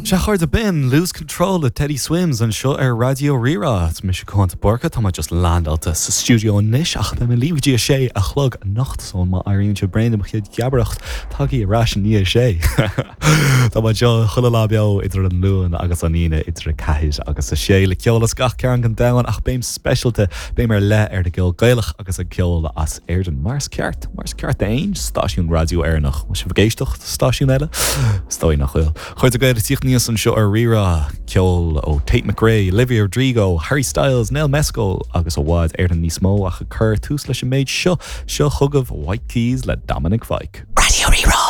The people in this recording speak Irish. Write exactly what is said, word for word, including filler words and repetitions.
Sea, a chairde, b'in Lose Control le Teddy Swims anseo ar Raidió Rí-Rá. Is mise Cuán de Búrca, tá mé just landáilte sa stiúideo anois ach beidh mé libh go dtí a sé a chlog anocht so má éiríonn sibh bréan de mo chuid geabaireacht, tagaigí ar ais i ndiaidh a sé. Tá mé anseo chuile lá beo idir an Luan agus an Aoine idir a ceathair agus a sé le ceol as gach cearn den domhan ach béim speisialta, béim ar leith ar an gceol Gaelach agus an ceol as Éirinn. Mar is ceart, mar is ceart d'aon stáisiún raidió Éireannach. Bhfuil sibh ag éisteacht stáisiún eile? Is dóigh nach bhfuil. Chairde Gael ag tíocht aníos anseo ar Rí-Rá, ceol ó Tate McRae, Olivia Rodrigo, Harry Styles, Nell Mescal agus i bhfad Éireann níos mó ach ag cur tús leis an méid seo seo chugaibh White Keys le Dominic Fike. Raidió Rí-Rá.